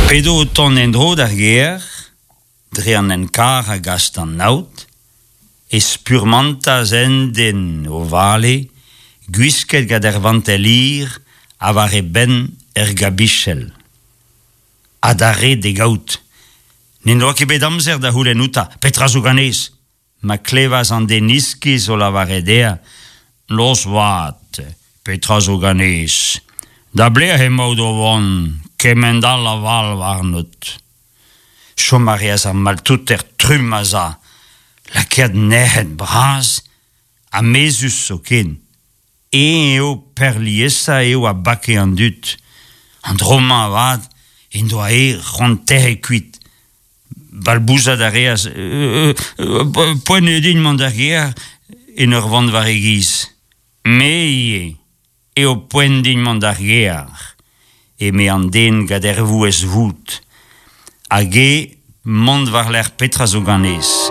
P'edo o tont en-dro d'ar gêr, dre an hent-karr a gas d'an aod, e spurmantas un den o vale, gwisket gant ur vantell hir ha war e benn ur gabichell. Ha d'ar red d'e gaout. N'en doa ket bet amzer da c'houlenn outañ petra zo ganez. Ma klevas an den iskis o lavaret dezhañ Noz vat, petra zo ganez? Da belec'h emaout o vont, kement all a vall warnout? Chom a reas ar maltouter trumm a-za, lakaet nec'het bras ha mezhus zoken. Eñ eo peurliesañ eo a bake an dud. An dro-mañ avat en doa e c'hoant tec'het kuit. Balbouzat a reas poent eo din mont d'ar gêr en ur vont war e giz. Me ivez eo poent din mont d'ar gêr, eme an den gant ur vouezh vout. Hag eo mont war-lerc'h petra zo ganez.